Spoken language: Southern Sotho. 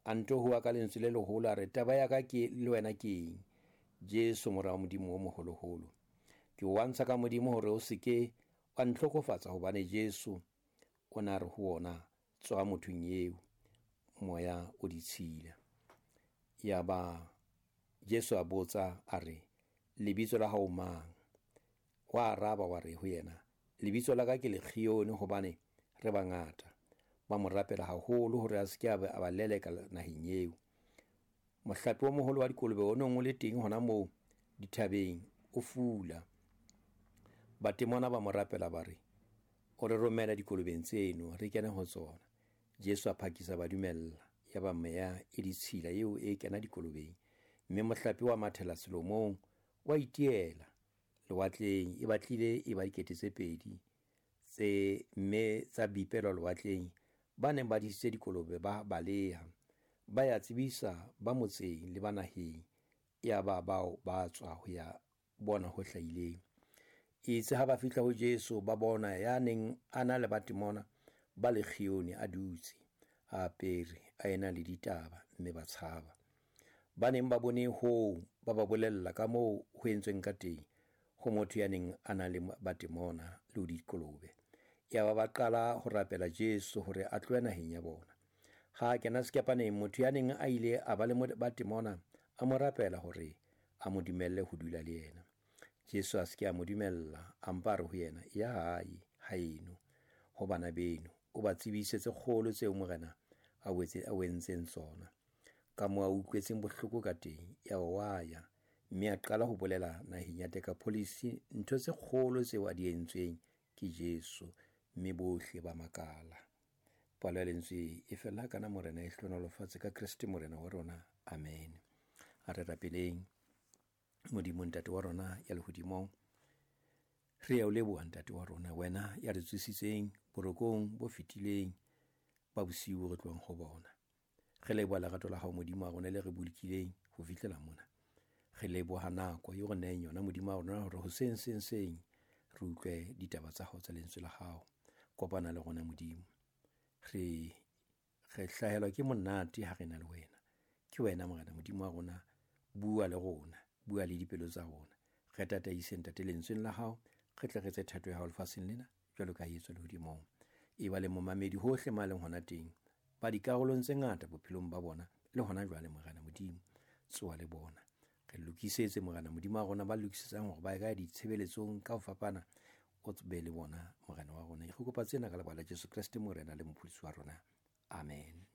A nto howa ka lentswe le leholo, a re, Taba ya ka ke le wena ke eng, Jesu, Mora wa Modimo o moholoholo? Ke o wantsha ka Modimo hore o se ke wa ntlhokofatsa, hobane Jesu o na re ho wona, Tswa mothong eo, moya o ditshila. Yaba Jesu a botsa, a re, Lebitso la hao mang? Wa araba, wa re ho yena, Lebitso la ka ke Legione, hobane re bangata. Ba mo rapela haholo hore a se ke a ba leleka naheng eo. Mohlape o moholo wa dikolobe o neng o le teng hona moo dithabeng o fula. Batemona ba mo rapela ba re, O re romela dikolobeng tseno, re kene ho tsona. Jesu a phakisa ba dumella. Yaba meya e ditshila eo e kena dikolobeng, mme mohlape wa mathela selomong, wa itiela lewatleng. E batlile e ba 2000 tse mme tsa bipelwa lewatleng. Ba neng ba disitse dikolobe ba baleha, ba ya tsebisa ba motseng le ba naheng. Yaba bao ba tswa ho ya bona ho hlahileng. Itse ha ba fihla ho Jesu, ba bona ya neng a na le batemona ba Legione a dutse, a apere, a ena le ditaba, mme ba tshaba. Ba neng ba bone hoo ba ba bolella ka moo ho entsweng ka teng ho motho ya neng a na le batemona le ho dikolobe. Yaba ba qala ho rapela Jesu hore a tlohe naheng ya bona. Ha a kena sekepaneng, motho ya neng a ile a ba le batemona a mo rapela hore a mo dumelle ho dula le yena. Jesu a se ke a mo dumella, a mpa a re ho yena, Ya hae, haeno, ho bana beno, o ba tsebise tse kgolo tseo Morena a o entseng tsona, ka moo a utlwetseng bohloko ka teng. Yaba wa ya, mme a qala ho bolela naheng ya Dekapolise ntho tse kgolo tseo a di entsweng ke Jesu, mme bohle ba makala. Palo ya lentswe e fella kana. Morena e hlohonolofatse ka Kreste Morena wa rona. Amen. A re rapeleng. Modimo Ntate wa rona ya lehodimong, re ya o leboha Ntate wa rona, wena ya re tsositseng borokong bo fetileng ba bosiu re tlohang ho bona. Re leboha lerato la hao Modimo wa rona le re bolokileng ho fihlela mona. Re leboha nako eo re neheng yona Modimo wa rona hore hoseng seng seng re utlwe ditaba tsa hao tsa lentswe la hao. Kopana le rona Modimo. Re hlahelwa ke monate ha re na le wena. Ke wena Morena Modimo wa rona, bua le rona, bua le dipelo tsa rona. Re tataise Ntate lentsweng la hao, re tle re etse thato ya hao lefatsheng lena jwalo ka ha e etswa lehodimong. E ba le momamedi hohle ma leng hona teng, ba dikarolong tse ngata bophelong ba bona le hona jwale Morena Modimo, tsoa le bona. Re lokisetse Morena Modimo wa rona ba lokisetsang hore ba ye ka ditshebeletsong ka ho fapana, o be le bona Morena wa rona. Re kopa tsena ka lebaka la Jesu Kreste Morena le Mopholosi wa rona. Amen.